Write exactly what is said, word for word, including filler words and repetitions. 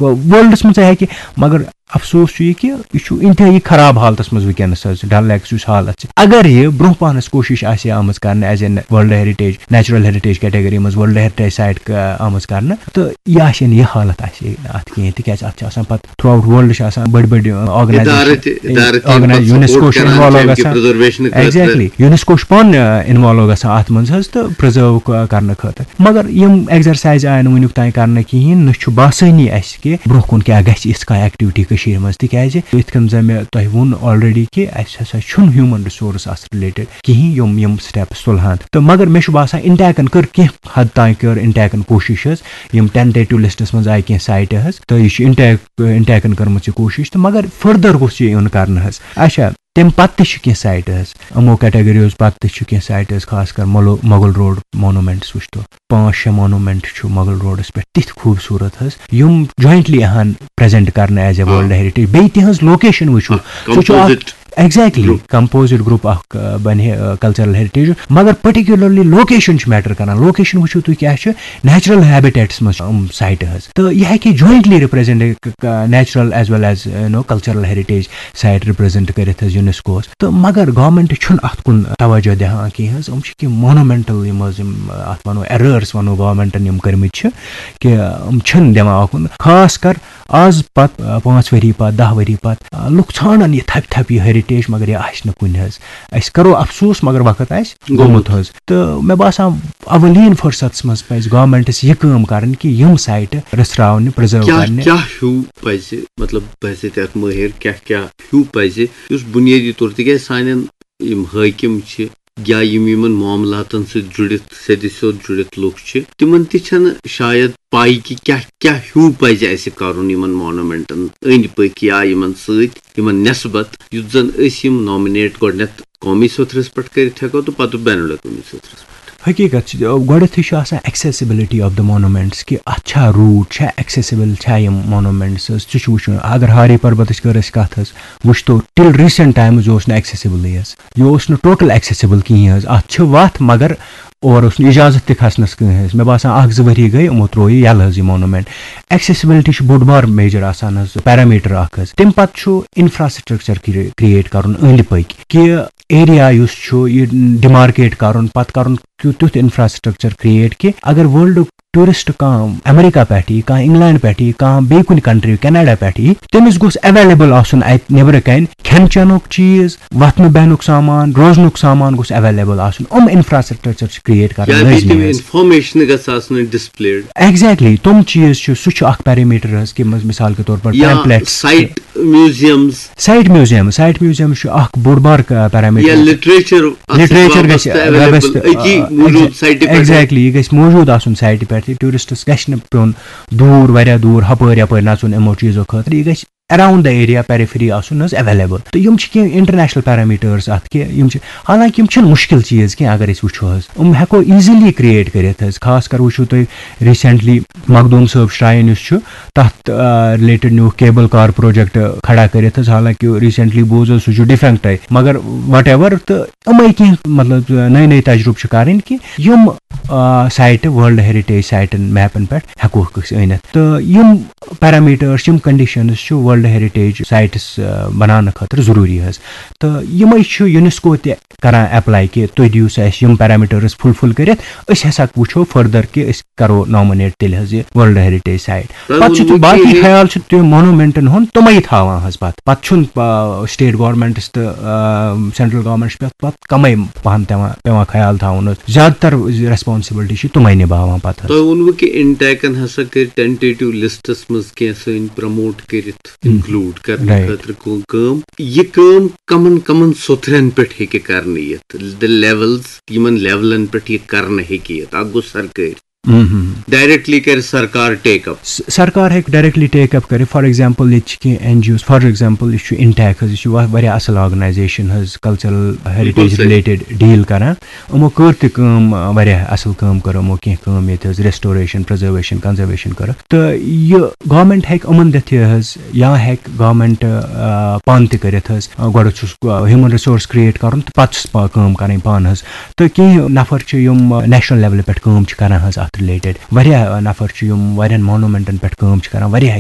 Worlds منٛز ہیٚکہِ، مگر افسوس چھُ یہِ کہِ یہِ چھُ انتہٲیی خراب حالتس منٛز وٕنکیٚنس حظ، ڈل لیکس یُس حالت چھِ۔ اگر یہِ برونٛہہ پہنس کوٗشش آسہِ ہے آمٕژ کرنہٕ as a World Heritage, Natural Heritage category منٛز World Heritage site آمٕژ کرنہٕ، تہٕ یہِ آسہِ ہے نہٕ، یہِ حالت آسہِ ہے نہٕ اتھ کِہیٖنۍ، تِکیازِ اتھ چھِ آسان پتہٕ throughout world چھِ آسان بٔڑۍ بٔڑۍ ادارٕ organization، تہِ، ادارٕ تہِ یِم پتہٕ یونیسکو support چھُ کران involve چھِ اَمہِ کہِ گژھان۔ Preservation خٲطرٕ۔ Exactly، یونیسکو چھُ پانہٕ involve گژھان اتھ منٛز حظ تہٕ preserve کرنہٕ خٲطرٕ۔ مگر یِم exercise آیہِ نہٕ وٕنیُک تام کرنہٕ کِہیٖنۍ، نہ چھُ باسٲنی اَسہِ کہِ برونٛہہ کُن کیٛاہ گژھِ یِژھ کانٛہہ activity کٔشیٖرِ منٛز، تِکیٛازِ یِتھ کٔنۍ زَن مےٚ تۄہہِ ووٚن already کہِ اَسہِ ہسا چھُنہٕ human resource اَتھ related کِہیٖنۍ یِم یِم steps تُلہٕ ہن۔ تہٕ مگر مےٚ چھُ باسان انٹیکن کٔر کینٛہہ حد تام کٔر انٹیکن کوٗشِش حظ، یِم tentative listس منٛز آیہِ کینٛہہ siteہٕ حظ، تہٕ یہِ چھُ انٹیک انٹیکن کٔرمٕژ یہِ کوٗشِش، تہٕ مگر further گوٚژھ یہِ یُن کرنہٕ حظ۔ اچھا، تَمہِ پتہٕ تہِ چھِ کینٛہہ siteہٕ حظ، یِمو categoryو پتہٕ تہِ چھِ کینٛہہ siteہٕ حظ، خاص کر مۄلو-، مۄغل روڈ monuments وٕچھتو، پانٛژھ شےٚ monument چھُ مۄغل روڈس پٮ۪ٹھ تِتھۍ خوٗبصوٗرت حظ، یِم jointly اہن present کرنہٕ as a World Heritage۔ بیٚیہِ تِہنٛز location وٕچھِو، اکھ سُہ چھُ اکھ composite exactly group۔ Composite group اکھ، آ، بنہِ ہے، آ، cultural heritage، مگر particularly location چھِ matter کران۔ Location وٕچھِو تُہۍ کیٛاہ چھُ، natural habitatس منٛز چھِ یِم siteہٕ حظ، تہٕ یہِ ہیٚکہِ jointly represent natural as well as you know cultural heritage site represent کٔرِتھ حظ یونیسکوہس۔ تہٕ مگر government چھُنہٕ اتھ کُن توجہ دِوان کینٛہہ حظ۔ یِم چھِ کینٛہہ monumental یِم حظ یِم اتھ ونو errors ونو governmentن یِم کٔرمٕتۍ چھِ، کہِ یِم چھِنہٕ دِوان اکُن۔ خاص کر آز پتہٕ، آ، پانٛژھ ؤری پتہٕ، دَہ ؤری پتہٕ، آ، لُکھ ژھانڈن یہِ تھپہِ تھپہِ یہِ heritage، مگر یہِ آسہِ نہٕ کُنہِ حظ۔ أسۍ کرو افسوس، مگر وقت آسہِ گوٚمُت۔ گوٚمُت حظ۔ تہٕ مےٚ باسان اولین فرصتس منٛز پزِ governmentس یہِ کٲم کرٕنۍ کہِ یِم siteہٕ رژھراونہِ، preserve کیٛاہ کرنہِ۔ کیٛاہ ہیوٗ پزِ، مطلب، بحیثیت اکھ مٲہر، کیٛاہ کیٛاہ ہیوٗ پزِ، یُس بُنیٲدی طور، تِکیٛازِ سانٮ۪ن یِم حٲکِم چھِ یا یِم یِمن معاملاتن سۭتۍ جُڑِتھ، سیٚدِ سیوٚد جُڑِتھ لُکھ چھِ، تِمن تہِ چھنہٕ شاید پاے کہِ کیٛاہ کیٛاہ ہیوٗ پزِ اسہِ کرُن یِمن monumentن أنٛدۍ پٔکۍ یا یِمن سۭتۍ، یِمن نٮ۪سبت، یُتھ زن أسۍ یِم nominate گۄڈٕنٮ۪تھ قومی سطحس پٮ۪ٹھ کٔرِتھ ہٮ۪کو تہٕ پتہٕ بین الاقوٲمی سطحس پٮ۪ٹھ۔ حقیٖقت چھِ، گۄڈٕنیتھٕے چھُ آسان accessibility of the monuments، کہِ اتھ چھا route، چھا accessible، چھا یِم monuments حظ، سُہ چھُ وٕچھُن۔ اگر ہاری پربتٕچ کٔر اسہِ کتھ حظ، وٕچھتو till recent times یہِ اوس نہٕ accessible حظ، یہِ اوس نہٕ total accessible کِہیٖنۍ حظ۔ اتھ چھِ وتھ، مگر اور اوس نہٕ اجازت تہِ کھسنس کٕہٕنۍ حظ۔ مےٚ باسان اکھ زٕ ؤری گٔے، یِمو تروو یہِ یلہٕ حظ یہِ monument۔ Accessibility چھُ بوٚڑ بار major آسان حظ، parameter اکھ حظ۔ تمہِ پتہٕ چھُ infrastructure create کرُن أنٛدۍ پٔکۍ، کہِ area یُس چھُ یہِ demarcate کرُن، پتہٕ کرُن کیُتھ تیُتھ infrastructure create کہِ اگر worldُک tourist کانٛہہ امریکہ پٮ۪ٹھ یی، کانٛہہ انگلینڈ پٮ۪ٹھ یی، کانٛہہ بیٚیہِ کُنہِ country، کینیڈا پٮ۪ٹھ یی، تٔمِس گوٚژھ available آسُن اتہِ نیبرٕ کنہِ کھٮ۪ن چٮ۪نُک چیٖز، وۄتھنہٕ بیٚہنُک سامان، روزنُک سامان گوٚژھ available آسُن۔ یِم infrastructure چھِ create کرٕنۍ یا بیٚیہِ لٲزمی تِم حظ۔ Information گژھِ آسٕنۍ displayed۔ Exactly، تِم چیٖز چھِ، سُہ چھُ اکھ parameter حظ، کہِ مس-، مثال کے طور پر یا pamphlets۔ Site museums۔ Site museum، site museum چھُ اکھ بوٚڑ بار، آ، parameter۔ یا literature اتھ سۭتۍ literature گژھِ وابستہٕ available وابستہٕ، أتی آ، موٗجوٗد exactly، siteہِ پٮ۪ٹھ۔ Exactly، یہِ گژھِ موٗجوٗد آسُن siteہِ پٮ۪ٹھ، یہِ touristس گژھِ نہٕ پیوٚن دوٗر، واریاہ دوٗر، ہپٲرۍ یپٲرۍ نژُن یِمو چیٖزو خٲطرٕ، یہِ گژھِ around the area، periphery آسُن حظ available۔ تہٕ یِم چھِ کینٛہہ international parameters اتھ، کہِ یِم چھِ، حالانکہِ یِم چھِنہٕ مُشکِل چیٖز کینٛہہ اگر أسۍ وٕچھو حظ، یِم ہٮ۪کو easily create کٔرِتھ حظ۔ خاص کر وٕچھِو تُہۍ recently مخدوٗم صٲب shrine یُس چھُ، تَتھ، آ، related نیوٗکھ cable car project کھڑا کٔرِتھ حظ۔ حالانکہِ recently بوٗز حظ سُہ چھُ defunct، مگر whatever، تہٕ یِمے کینٛہہ مطلب نٔے نٔے تجرُبہٕ چھِ کَرٕنۍ کہِ یِم، آ، siteہٕ world heritage siteن mapن پٮ۪ٹھ ہٮ۪کوکھ أسۍ أنِتھ۔ تہٕ یِم parameters، یِم conditions چھِ world heritage sites، آ، بناونہٕ خٲطرٕ ضروٗری حظ۔ تہٕ یِمے چھُ UNESCO تہِ کران apply کہِ تُہۍ دِیِو سا اَسہِ یِم parameters fulfill کٔرِتھ، أسۍ ہسا وٕچھو further کہِ أسۍ کرو nominate تیٚلہِ حظ یہِ world heritage site۔ تۄہہِ پتہٕ چھِ ووٚنوُ تہِ باقٕے کہِ خیال چھُ تِم monumentن ہُنٛد تِمے تھاوان حظ پتہٕ۔ پتہٕ چھُنہٕ، آ، state governmentس تہٕ، آ، central governmentس پٮ۪ٹھ پتہٕ کمٕے پہن تِوان، پٮ۪وان خیال تھاوُن حظ۔ زیادٕ تر responsibility چھِ تِمے نِباوان پتہٕ حظ۔ تۄہہِ ووٚنوُ کہِ انٹیکن ہسا کٔرۍ tentative listس منٛز کینٛہہ سٲنۍ promote کٔرِتھ، ہم۔ Include کرنہٕ right۔ خٲطرٕ کٲ-، کٲم۔ یہِ کٲم کمن کمن سوٚتھرن پٮ۪ٹھ ہیٚکہِ کرنہٕ یِتھ؟ The levels، یِمن levelن پٮ۪ٹھ یہِ کرنہٕ ہیٚکہِ یِتھ؟ اکھ گوٚو سرکٲرۍ۔ ہم، ہم۔ Directly کرِ سرکار take up۔ س-، سرکار ہیٚکہِ directly take up کٔرِتھ۔ For example، ییٚتہِ چھِ کینٛہہ N G Os، for example، یہِ چھُ انٹیک حظ، یہِ چھُ وا-، واریاہ اصل organization حظ، cultural heritage بِلکُل صحیح۔ Related deal کران۔ یِمو کٔر تہِ کٲم، آ، واریاہ اصل کٲم کٔر یِمو، کینٛہہ کٲم ییٚتہِ حظ، restoration، preservation، conservation کٔرٕکھ۔ تہٕ یہِ government ہیٚکہِ یِمن دِتھ یہِ حظ، یا ہیٚکہِ government، آ، پانہٕ تہِ کٔرِتھ حظ۔ آ، گۄڈٕ چھُس، آ، human resource create کرُن تہٕ پتہٕ چھُس پا-، کٲم کرٕنۍ پانہٕ حظ۔ تہٕ کینٛہہ نفر چھِ یِم، آ، national levelہِ پٮ۪ٹھ کٲم چھِ کران حظ اتھ related۔ واریاہ، آ، نفر چھِ یِم واریاہن monumentن پٮ۪ٹھ کٲم چھِ کران، واریاہ